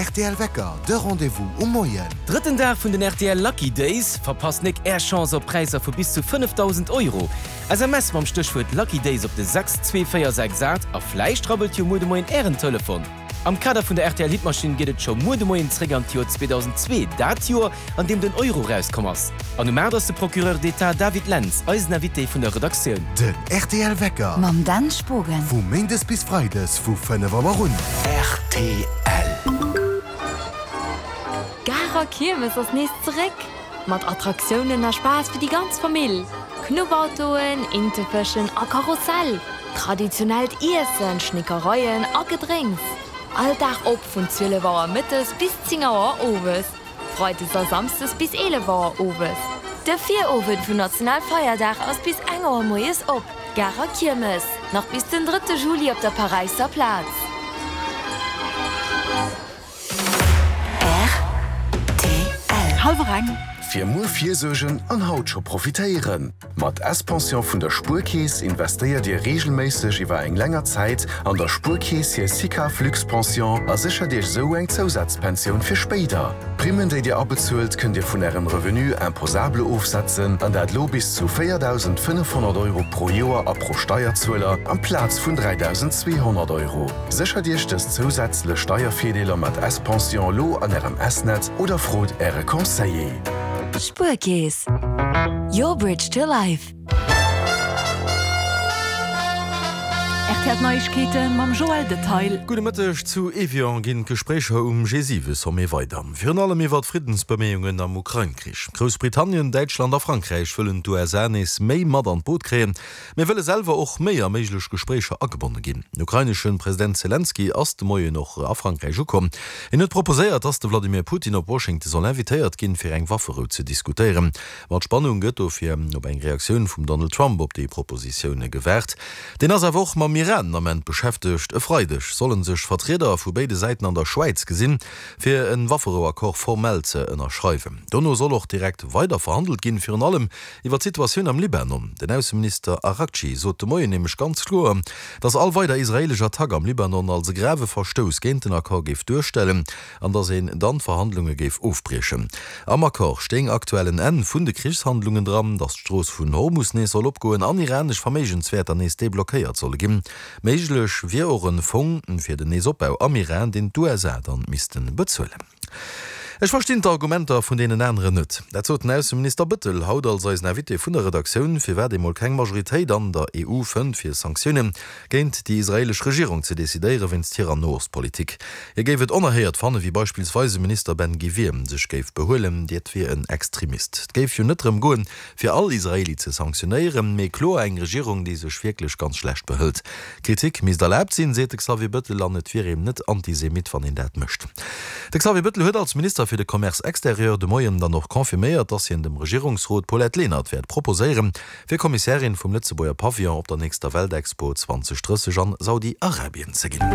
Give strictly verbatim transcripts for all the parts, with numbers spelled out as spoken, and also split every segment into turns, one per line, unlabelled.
R T L Wecker, de Rendez-vous um Moien.
Drëtten Dag vun den R T L Lucky Days, verpasst nik är Chance op Präisser vu bis zu fënnefdausend Euro. S M S mam Stéchwuert Lucky Days op de sechs zwee véier sechs aacht a vläicht rabbelt jo muer de Moien ären Telefon. Am Kader vun der R T L Hitmaschinn geet et scho muer de Moien zréck an d'Joer zweedausend zwee, dat Joer, an deem den Euro rauskomm ass. An um aacht ass de Procureur d'État David Lentz eisen Invité vun der Redaktioun.
Den R T L Wecker
mam Dan Spogen.
Vu méindes bis freides vu fënnef Auer un.
R T L.
Garer Kiermes ass nees zeréck! Mat Attraktiounen a Spaass fir déi ganz Famill. Knuffautoen, Intefëschen a Karussell. Traditionellt Iessen, Schnickereien a Gedrénks. All Dag op vun zwielef Auer mëttes bis zéng Auer owes. Freides a Samsdes bis eelef Auer owes. De Virowend vun Nationalfeierdag ass bis eng Auer moies op. Garer Kiermes. Nach bis den drëtte Juli op der Paräisser Plaz.
R T L.
Hallwer eng.
Fir muer virsuergen an haut scho profitéieren. Mat S-Pension vun der Spuerkeess investéiert Dir reegelméisseg iwwer eng länger Zäit an der Spuerkeess hir SICAV Luxpension a séchert Iech sou eng Zousazpensioun fir spéider. D'Primmen, déi Dir abezuelt, kënnt Dir vun Ärem Revenu imposable ofsetzen, an dat lo bis zu véierdausendfënnefhonnert Euro pro Joer a pro Steierzueler amplaz vun dräidausenzweehonnert Euro. Séchert Iech dës zousätzlech Steiervirdeeler mat S-Pension lo an Ärem S-Net oder frot Äre Conseiller.
Spuerkeess. Your bridge to life.
R T L Neiegkeete mam Joël Detail.
Gudde Mëtteg. Zu Evian ginn d'Gespréicher um G siwe Sommet weider. Virun allem iwwer d'Friddensbeméiungen am Ukrain-Krich. Groussbritannien, Däitschland a Frankräich wëllen d'U S A nees méi mat an d'Boot kréien, mee wëlle selwer och méi a méiglech Gespréicher agebonne ginn. Den ukrainesche President Selenskyj ass de Moien och a Frankräich ukomm. Hien huet proposéiert, dass de Vladimir Putin op Washington soll invitéiert ginn, fir eng Wafferou ze diskutéieren. Mat Spannung gëtt dofir op eng Reaktioun vum Donald Trump op déi Propositioune gewaart. Deen ass awer och mam Iran den Ament beschäftegt. E Freideg solle sech Vertrieder vu béide Säiten an der Schwäiz gesinn, fir e Wafferou-Accord formell ze ënnerschreiwen. Dono soll och direkt weider verhandelt ginn, virun allem iwwer d'Situatioun am Libanon. Den Ausseminister Araghchi sot de Moien nämlech ganz kloer, dass all weider israeelesch Attack am Libanon als e grave Verstouss géint den Accord géif duerstellen an dass een dann d'Verhandlunge géif ofbriechen. Am Accord stéing aktuell en Enn vun de Krichshandlungen dran, dass d'Strooss vun Hormus nees soll opgoen an iranesch Verméigenswäerter nees deblockéiert solle ginn. Méiglech wier och e Fong fir den Neesopbau am Iran, deen d'U S A dann misste bezuelen. Ech verstinn d'Argumenter vun deenen aneren net. Dat sot den Ausseminister Bëttel haut als eisen Invité vun der Redaktioun, firwat ee mol keng Majoritéit an der E U fënnt, fir Sanktioune géint déi israeelesch Regierung ze decidéiere wéinst hirer Noostpolitik. Hie géif et onerhéiert fanne wéi beispillsweis de Minister Ben Gvir sech géif behuelen, dat wier en Extremist. Et géif jo net drëm goen, fir all Israeli ze sanktionéieren, mee kloer eng Regierung, déi sech wierklech ganz schlecht behëlt. Kritik misst erlaabt sinn, seet de Xavier Bëttel, an et wier een net Antisemit, wann een dat mécht. De Xavier Bëttel huet als Minister fir de Commerce extérieur de Moien dann och confirméiert, dass hien dem Regierungsrot d'Paulette Lenert wäert proposéieren, fir Kommissärin vum Lëtzebuerger Pavillon op der nächster Weltexpo zweedausend drësseg an Saudi-Arabien ze ginn.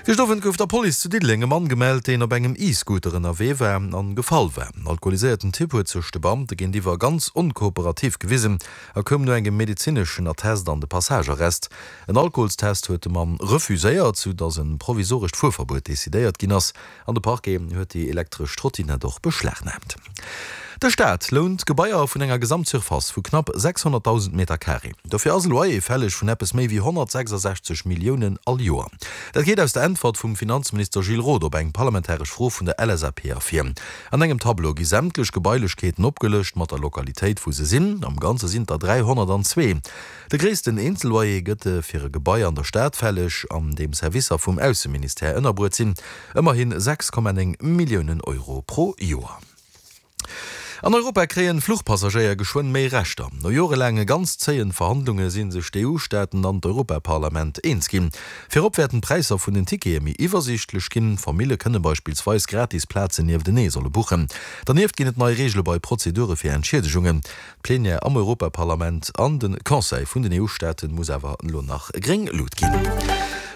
Gëschter Owend gouf der Police zu Diddeleng e Mann gemellt, deen op engem E-Scooter ënnerwee war an gefall war. Den alkoholiséierten Typ huet sech de Beamte géintiwwer ganz onkooperativ gewisen a koum no engem medezineschen Attest an de Passagearrest. En Alkoholstest huet de Mann refuséiert, sou dass e provisorescht Fuerverbuet decidéiert ginn ass an de Parquet huet déi elektresch Trottinett och beschlagnaamt. De Staat lount Gebaier vun enger Gesamtsurface vu knapp sechshonnertdausend Meter Carré. Dofir ass e Loyer fälleg vun eppes méi wéi honnertsechsasechzeg Milliounen all Joer. Dat geet aus der Äntwert vum Finanzminister Gilles Roth op eng parlamentaresch Fro vun der L S A P ervir. An engem Tableau gi sämtlech Gebailechkeeten opgelëscht mat der Lokalitéit, wou se sinn. Am Ganze sinn der dräihonnertanzwee. De gréissten Eenzelloyer gëtt fir e Gebai an der Stad fälleg, an deem Servicer vum Ausseministère ënnerbruet sinn, ëmmerhi sechs Komma néng Milliounen Euro pro Joer. An Europa kréien Fluchpassagéier geschwënn méi Rechter. No jorelaange ganz zéien Verhandlunge sinn sech d'E U-Staaten an d'Europaparlament eens ginn. Virop wäerten d'Präisser vun den Tickete méi iwwersiichtlech ginn. Famillje kënne beispillsweis gratis Plazen nieftenee solle buchen. Dernieft ginn et nei Reegele bei Prozedure fir Entschiedegungen. D'Plenière am Europaparlament an de Conseil vun den E U-Staate muss awer elo nach gréng Luucht ginn.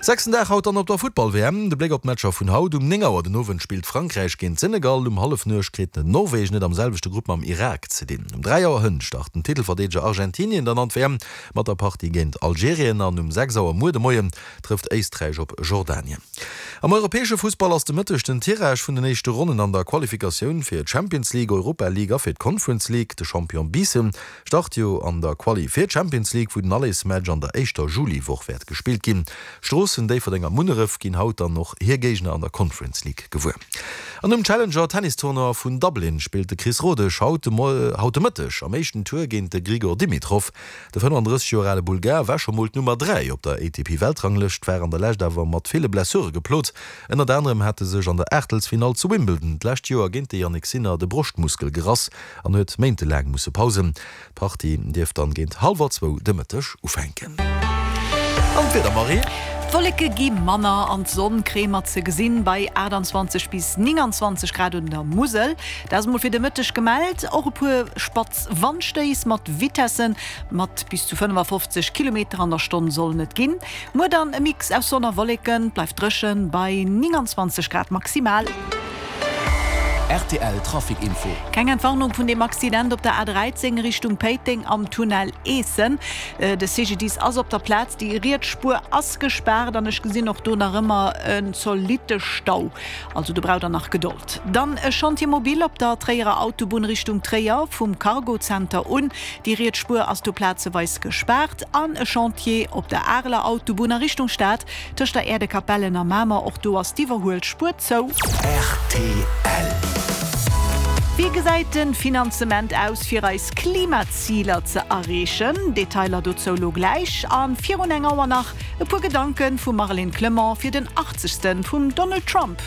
Sechsten Dag haut dann op der Futtball-WM. De Bléck op d'Matcher vun haut, Um néng Auer den Owend spillt Frankräich géint Senegal, um Hallefnuecht kritt Norwegen et am selwechte Grupp mam Irak ze dinn. Um dräi Auer hënt start den Titelverdeedeger Argentinien dann an d'WM mat der Partie géint Algerien an um sechs Auer muer de Moien trëfft Éisträich op Jordanien. Am europäesche Fussball ass de Mëtteg den Tirage vun den éischte Ronnen an der Qualifikatioun fir d'Champions League, Europa League a fir d'Conference League. De Champion Biissen start jo an der Quali fir d'Champions League, wou den Allesmatch an der éischter Juliwoch wäert gespillt ginn. Stroossen, Déifferdeng a Munneref ginn haut dann och hir Géigner an der Conference League gewuer. An um Challenger Tennistournoi vun Dublin spillt de Chris Rodesch haut de haut de Mëtteg am éischten Tour géint de Grigor Dimitrov. De fënnefandrësseg Joer ale Bulgar war scho mol d'Nummer dräi op der A T P-Weltranglëscht, war an der Lescht awer mat ville Blessure geplot. Ënnert anerem hat e sech an der Aachtelsfinall zu Wimbledon d'lescht Joer géint de Jannik Sinner de Broschtmuskel gerass an huet méintelaang musse pausen. D'Partie dierft dann géint hallwer zwou de Mëtteg ufänken. An d'Wieder, Marie?
D'Wolleke gi manner an d'Sonn kréie mer ze gesinn bei aachtanzwanzeg bis nénganzwanzeg Grad un der Musel. Dat ass emol fir de Mëtteg gemellt. Och e puer spatz Wandstéiss mat Vitessen mat bis zu fënnefafofzeg Kilometer an der Stonn sollen et ginn. Muer dann e Mix aus Sonn a Wolleken, et bleift dréchen bei nénganzwanzeg Grad maximal.
Rtl Trafic Info.
Keng Entwarnung vun dem Accident op der A dräizéng Richtung Péiteng am Tunnel Eessen. De C G D I S ass op der Plaz, déi riets Spuer ass gespaart an ech gesinn och do nach ëmmer en zolitte Stau. Also do braucht der nach Gedold. Dann e Chantier mobile op der Tréierer Autobunn Richtung Tréier vum Cargo Center un. Déi riets Spuer ass do plazeweis gespaart. An e Chantier op der Areler Autobunn a Richtung Stad tëscht der Äerdekapellen a Mamer, och do ass d'Iwwerhuelspuer zou.
Rtl.
Wéi gesäit de Finanzement aus fir eis Klimaziler ze erreechen? Detailer dozou lo gläich. A virun eng Auer nach e puer Gedanke vum Marlène Clement fir den achtzegste vum Donald Trump.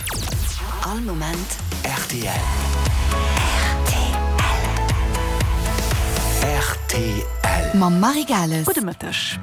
All Moment
rtl.
Rtl.
Rtl.
Mam Marie Gales.
Gudde Mëtteg.